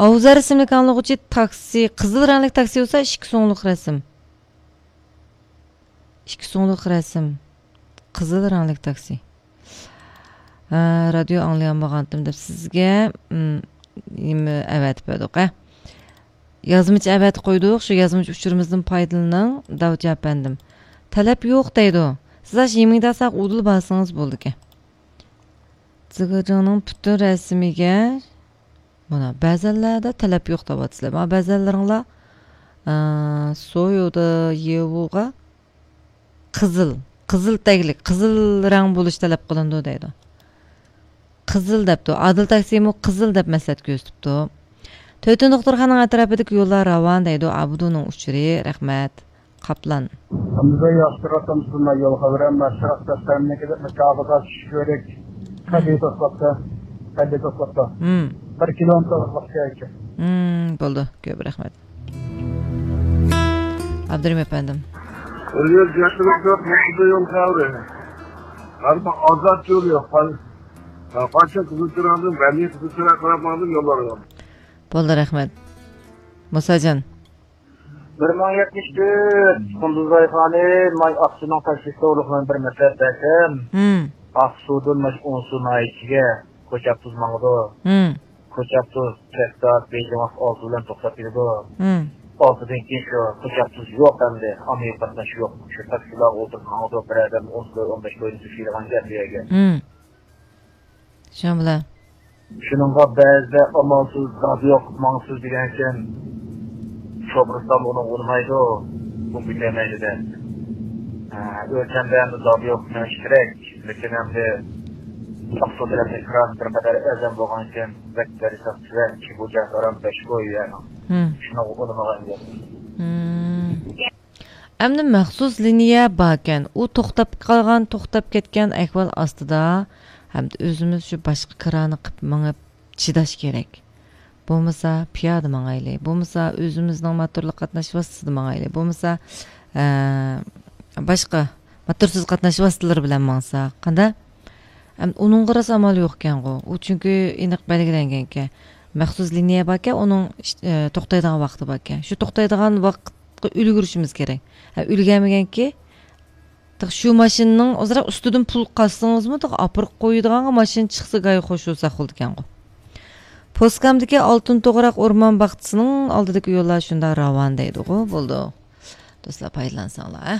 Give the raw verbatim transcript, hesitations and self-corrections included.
ئاۋزار ئىسىملىك ئاڭلىغۇچى تاكسى، قىزىل رەڭلىك تاكسى بولسا ئىككى سوڭلۇق رەسىم. ئىككى سوڭلۇق رەسىم. قىزىل رەڭلىك تاكسى. ھە، رادىيو ئاڭلىيالمىغانتىم دەپ سىزگە، ئىم، نېمە ئەۋەتىپ بەردۇق، ھە؟ يازمىچە ئەۋەتىپ قويدۇق، شۇ يازمىچە ئۇچۇرىمىزدىن پايدىلىنىڭ، داۋچى ئەپەندىم. تەلەپ يوق دەيدۇ. سىز ئاشۇ يىمىڭداساق ئۇدۇل بارسىڭىز بولىدىكەن. زىگىرجىڭنىڭ پۈتۈن رەسىمىگە، مانا، بەزەنلەردە تەلەپ يوق دەۋاتىسىلەر. مانا، بەزەنلىرىڭلار، ئە، سويۇدا يېۋۇغا قىزىل، قىزىل تەگلىك، قىزىل رەڭ بولۇش تەلەپ قىلىنىدۇ دەيدۇ. قىزىل دەپتۇ. ئادىل تاكسىمۇ قىزىل دەپ مەسلىھەت كۆرسىتىپتۇ. تۆتىن دوختۇرخانىنىڭ ئەتراپىدىكى يوللار راۋان دەيدۇ. ئابدۇنىڭ ئۇچۇرى. رەھمەت. قاپلان. ئەمدى ياخشىراق تامسىلما يول خەۋىرى، ئەمما شەرق دەستەمنىڭكى مۇكاپاتى چۈشۈش كۆرۈك. قەدىي توسلاپتۇ. قەدىي توسلاپتۇ. ھىم. بىر كىلومېتىر ئۇزاقلىققا ئىكەن. ھىم، بولدى. كۆپ رەھمەت. ئابدۇرېھىم ئەپەندىم. يول خەۋىرى. ئەمما ئازاد يول يوق. قاچان قىزىل چىراغدىن، بەلگە قىزىل چىراغ قاراپ ماڭدىم يوللارغا. بولدى، رەھمەت. مۇساجان. بىر مىڭ يەتمىش تۆت، قۇندۇزاي خانىم، ماي ئاقسۇنىڭ تەكلىپى توغرۇلۇق مەن بىر مەسلىھەت بەرسەم، ھىم. ئاقسۇدىن ماش ئونسۇ ناھىيەسىگە كوچاپتۇز ماڭىدۇ. ھىم. كوچاپتۇز چەكدار بېيجىڭ ۋاقىت ئالتە بىلەن توختاپ كېلىدۇ. ھىم. ئالتىدىن كېيىن شۇ كوچاپتۇز يوق ئەمدى. ئاممىۋى قاتناش يوق. شۇ تاكسىلارغا ئولتۇرۇپ ماڭىدۇ. بىر ئادەم ئون كىلو، ئون بەش كىلودىن تېشىيدىغان گەپ بۇ يەرگە. ھىم. شۇنىڭ بىلەن. شۇنىڭغا بەزىدە ئامالسىز، دادى يوق، ماڭسىز دېگەنكەن، شوپۇرستان ئۇنىڭغا ئۇنىمايدۇ، كۆمۈپ كېتەلمەيدۇ دەپ. ھە، ئۆلچەمدە ئەمدى دادى يوق، مېڭىش كېرەك. لېكىن ئەمدى ئاقسۇ تەرەپتە كىرانىس بىر قەدەر ئەرزان بولغانىكەن، بەك دەرساق كېرەك، بۇ جاي ھارام بەش كوي يەرنىڭ. ھىم. شۇنىڭغا ئۇنىمىغان گەپ. ھىم. ئەمدى مەخسۇس لىنىيە باركەن، ئۇ توختاپ قالغان، توختاپ كەتكەن ئەھۋال ئاستىدا، ھەمدە ئۆزىمىز شۇ باشقا كىرانى قىپ مېڭىپ چىداش كېرەك. بولمىسا پىيادە ماڭايلى، بولمىسا ئۆزىمىزنىڭ موتورلۇق قاتناش ۋاسىتىسىدا ماڭايلى، بولمىسا، ئە، باشقا موتورسىز قاتناش ۋاسىتىلىرى بىلەن ماڭسا قانداق؟ ئەمدى ئۇنىڭغا راست ئامال يوقكەنغۇ. ئۇ چۈنكى ئېنىق بەلگىلەنگەنكەن. مەخسۇس لىنىيە باركەن، ئۇنىڭ ئىش-، ئە، توختايدىغان ۋاقتى باركەن. شۇ توختايدىغان ۋاقىتقا ئۈلگۈرۈشىمىز كېرەك. ھە، ئۈلگەرمىگەنكى، تېخى شۇ ماشىنىنىڭ ئازراق ئۈستىدىن پۇل قازسىڭىزمۇ، تېخى ئاپىرىپ قويىدىغانغا ماشىنا چىقسا گاي خوش بولساق بولىدىكەنغۇ. پوسكامدىكى ئالتۇن توغراق ئورمان باغچىسىنىڭ ئالدىدىكى يوللار شۇنداق راۋان دەيدىغۇ. بولدى. دوستلار، پايدىلانساڭلار، ھە؟